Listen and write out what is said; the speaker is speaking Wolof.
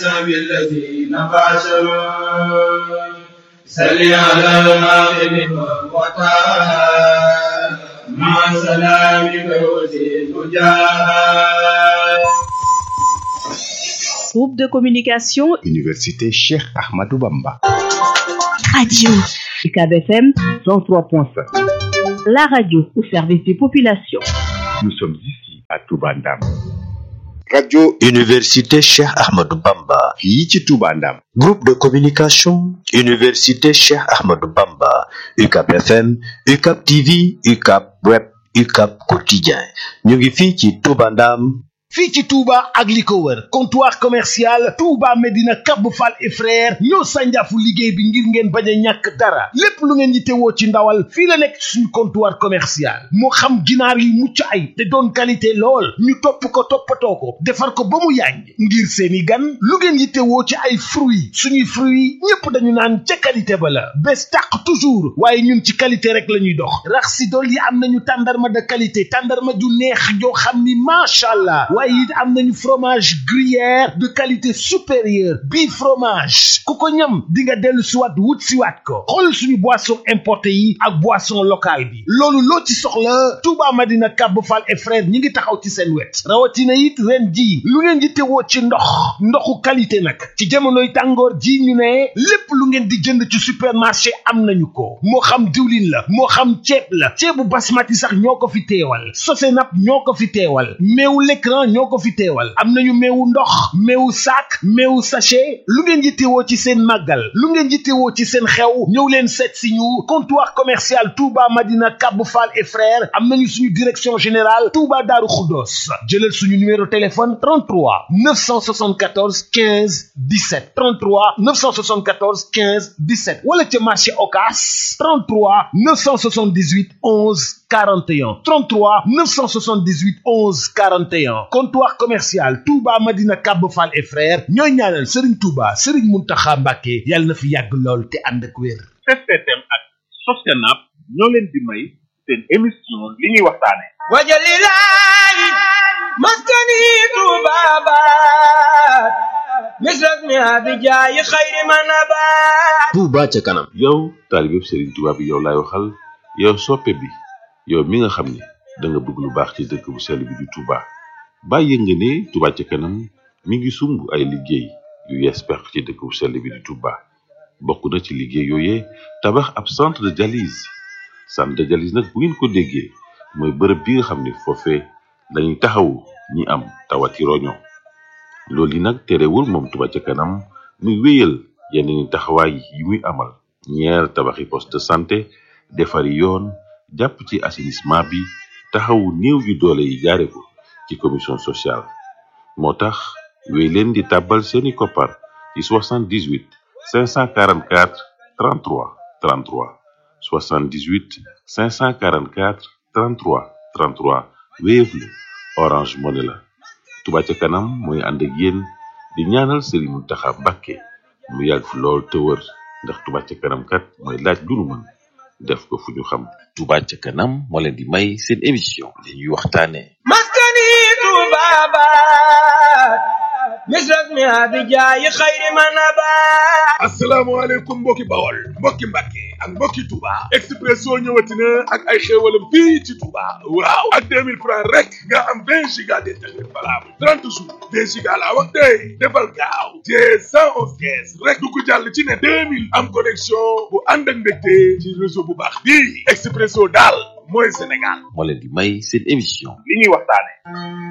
سبي الذين باشروا صل على المغرب والوطن مع سلامك وزيد جاه. Groupe de communication Université Cheikh Ahmadou Bamba. Radio UCAB FM 103.5. La radio au service des populations. Nous sommes ici à Touba Ndam. Radio Université Cheikh Ahmadou Bamba. fii ci Touba Ndam. Groupe de communication Université Cheikh Ahmadou Bamba. UCAB FM, UCAB TV, UCAB Web, UCAB Quotidien. ñu ngi fii ci Touba Ndam. fii ci Touba ak li ko wër comptoir commercial Touba Medina Kab Fall et frère ñoo sànjaafu liggéey bi ngir ngeen bañ a ñàkk dara lépp lu ngeen yittewoo ci ndawal fii la nekk suñu comptoir commercial moo xam ginaar yi mucc ay te doon qualité lool ñu topp ko toppatoo ko defar ko ba mu yàññ ngir seeni gan lu ngeen yittewoo ci ay fruits suñuy fruits ñépp dañu naan ca qualité ba la bés tàq toujours waaye ñun ci qualité rek la ñuy dox rax si dool yi am nañu tàndarma de qualité tàndarma ju neex joo xam ni macha allah waaye it am nañu fromage gruyère de qualité supérieure bii fromage ku ko ñam di nga dellu siwaat wut siwaat ko xool suñu boisson importé yi ak boisson locale bi loolu loo ci soxla Touba Madina Kab Fall et frère ñi ngi taxaw ci seen wet rawatina it ren ji lu ngeen di tewoo ci ndoxu qualité nag ci jamonoy tàngoor ji ñu ne lépp lu ngeen di jënd ci supermarché am nañu ko moo xam diwlin la moo xam ceeb la ceebu basmati sax ñoo ko fi teewal Sosenap ñoo ko fi teewal meewu l'écran ñoo ko fi teewal am nañu meewu ndox meewu sac meewu sachet lu ngeen yittewoo ci seen màggal lu ngeen yittewoo ci seen xew ñëw leen seet si ñu comptoir commercial Touba Madina Kab Fall et frères am nañu suñu direction générale Touba Darou Khoudoss jëlal suñu numéro téléphone 33 974 15 17 33 974 15 17 wala ca marché Ocass 33 978 11 41 33 978 11 41 comptoir commercial Touba Madina Kab Fall et frères ñooy ñaanal Serigne Touba Serigne Mountakha Mbacké yàlla na fi yàgg lool te ànd ak wér. STM ak Sosenap ñoo leen di may seen émission li ñuy waxtaane wajalilahi maskani tubabat misras mi abijaayi xayri manabat. Touba ca kanam. yow taalibe Serigne Touba bi yow laay waxal yow soppe bi yow mi nga xam ne da nga bëgg lu baax ci dëkk bu sell bi di Touba bàyyi nga ne Touba ca kanam mi ngi sumb ay liggéey yu yees peq ci dëkk bu sell bi di Touba bokk na ci liggéey yooyee tabax ab centre de dialyse nag bu ngeen ko déggee mooy bërëb bi nga xam ne foofee lañuy taxawu ñi am tawati roño loolu yi nag terewul moom Touba ca kanam muy wéyal yeneen taxawaay yi muy amal ñeer tabaxi poste de santé defari yoon jàpp ci assainissement bi taxawu néew ju doole yi jaare ko ci commission sociale moo tax wéy leen di tàbbal seeni koppar ci 78 544 33 33 78 544 33 33 Wave la Orange Money la Touba ca kanam mooy ànd ak yéen di ñaanal Serigne Mountakha Mbacké mu yàgg fi lool te wër ndax Touba ca kanam kat mooy laaj lu nu mën def ko fu ñu xam. Touba ca kanam moo leen di may seen émission li ñuy waxtaane maskani tubabat misras mi abijaayi xayri manabat. asalaamaaleykum mbokki Bawol mbokki Mbàkke ak mbokki Touba Expresso ñëwati na ak ay xéewalam fii ci Touba waaw ak 2000 francs rek nga am 20 giga d'internet valable 30 jours 20 giga laa wax tey defal gaaw te 111 kees rek du ko jàll ci ne 2000 am connexion bu ànd ak ndégte ci réseau bu baax bii Expresso daal mooy Sénégal moo leen di may seen émission li ñuy waxtaane